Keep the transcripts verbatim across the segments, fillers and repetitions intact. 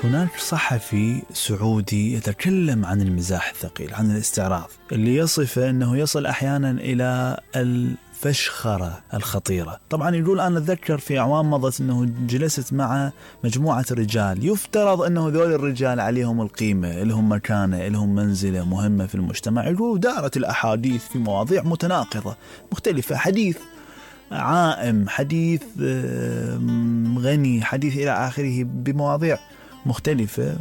هناك صحفي سعودي يتكلم عن المزاح الثقيل، عن الاستعراض اللي يصفه أنه يصل أحيانا إلى الفشخرة الخطيرة. طبعا يقول أنا أتذكر في أعوام مضت أنه جلست مع مجموعة رجال يفترض أنه ذول الرجال عليهم القيمة، لهم مكانة، لهم منزلة مهمة في المجتمع. يقول دارت الأحاديث في مواضيع متناقضة مختلفة، حديث عائم، حديث غني، حديث إلى آخره، بمواضيع مختلفة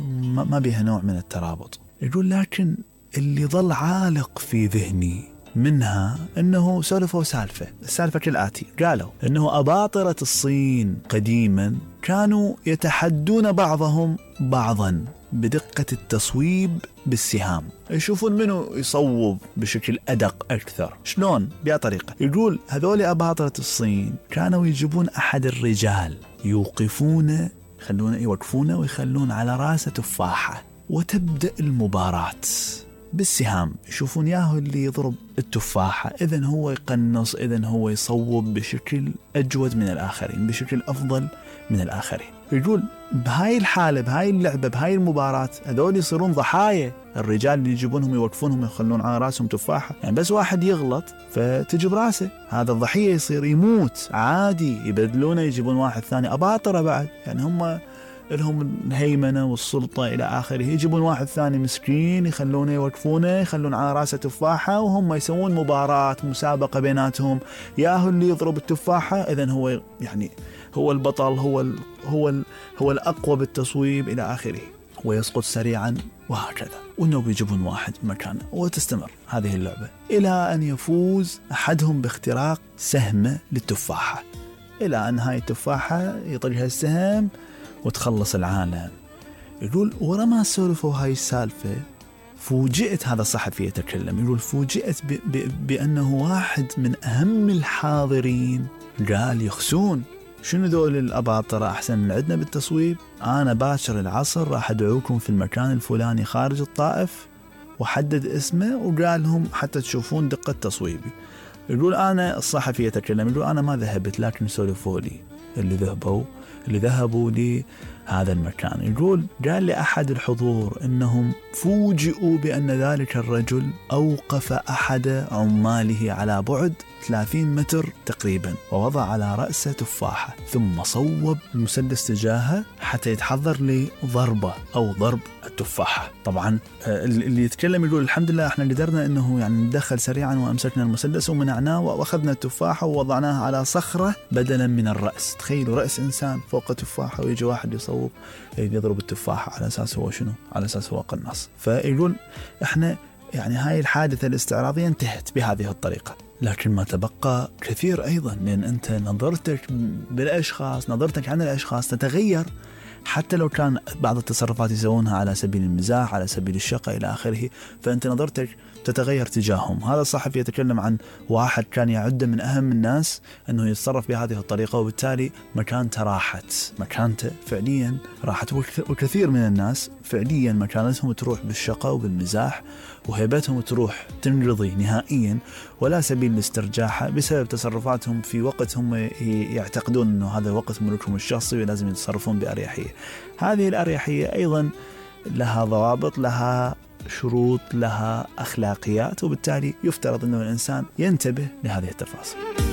ما بها نوع من الترابط. يقول لكن اللي ظل عالق في ذهني منها أنه سولفوا سالفة السالفة كالآتي: قالوا أنه أباطرة الصين قديما كانوا يتحدون بعضهم بعضا بدقة التصويب بالسهام، يشوفون منه يصوب بشكل أدق أكثر. شلون؟ بها طريقة. يقول هذول أباطرة الصين كانوا يجيبون أحد الرجال يوقفون يخلون يوقفونه ويخلون على راسه تفاحة، وتبدأ المباراة بالسهام. يشوفون ياهو اللي يضرب التفاحة، إذن هو يقنص، إذن هو يصوب بشكل أجود من الآخرين، بشكل أفضل من الآخرين. يقول بهاي الحالة، بهاي اللعبة، بهاي المباراة، هذول يصيرون ضحايا. الرجال اللي يجيبونهم يوقفونهم يخلون على راسهم تفاحة، يعني بس واحد يغلط فتجي براسه، هذا الضحية يصير يموت عادي، يبدلونه يجيبون واحد ثاني أباطرة بعد، يعني هم لهم الهيمنة والسلطة إلى آخره، يجيبون واحد ثاني مسكين يخلونه يوقفونه يخلون على راسه تفاحة، وهم يسوون مباراة مسابقة بيناتهم، ياهو اللي يضرب التفاحة إذن هو يعني هو البطل، هو ال هو ال هو الأقوى بالتصويب إلى آخره، ويسقط سريعا وهكذا. وإنه بيجيبون واحد مكانه، وتستمر هذه اللعبة إلى أن يفوز أحدهم باختراق سهمة للتفاحة، إلى أن هاي التفاحة يطلقها السهم وتخلص العالم. يقول ورا ما سولفوا هاي السالفة فوجئت، هذا الصحفي يتكلم، يقول فوجئت ب ب بأنه واحد من أهم الحاضرين قال يخسون، شنو ذول الأباطرة أحسن من عندنا بالتصويب؟ أنا باكر العصر راح أدعوكم في المكان الفلاني خارج الطائف، وحدد اسمه وقال لهم حتى تشوفون دقة تصويبي. يقول أنا الصحفي يتكلم، يقول أنا ما ذهبت، لكن سولفوا لي اللي ذهبوا اللي ذهبوا لهذا المكان. يقول قال لي أحد الحضور إنهم فوجئوا بأن ذلك الرجل أوقف أحد عماله على بعد ثلاثين متر تقريبا، ووضع على رأسه تفاحة، ثم صوب المسدس تجاهه حتى يتحضر لضربة أو ضرب التفاحة. طبعا اللي يتكلم يقول الحمد لله احنا قدرنا انه يعني ندخل سريعا وامسكنا المسدس ومنعناه واخذنا التفاحة ووضعناها على صخرة بدلا من الرأس. تخيلوا رأس انسان فوق تفاحة ويجي واحد يصوب يضرب التفاحة على اساس هو شنو؟ على اساس هو قناص. فيقول احنا يعني هاي الحادثة الاستعراضية انتهت بهذه الطريقة، لكن ما تبقى كثير أيضا، لأن أنت نظرتك بالأشخاص، نظرتك عن الأشخاص تتغير، حتى لو كان بعض التصرفات يسوونها على سبيل المزاح، على سبيل الشقة إلى آخره، فأنت نظرتك تتغير تجاههم. هذا الصحفي يتكلم عن واحد كان يعد من أهم الناس أنه يتصرف بهذه الطريقة، وبالتالي مكانته راحت، مكانته فعليا راحت. وكثير من الناس فعليا مكانتهم تروح بالشقة وبالمزاح، وهيبتهم تروح تنقضي نهائيا، ولا سبيل لاسترجاعها بسبب تصرفاتهم في وقت هم يعتقدون أنه هذا وقت ملكهم الشخصي ولازم يتصرفون بأريحية. هذه الأريحية أيضا لها ضوابط، لها شروط، لها أخلاقيات، وبالتالي يفترض أنه الإنسان ينتبه لهذه التفاصيل.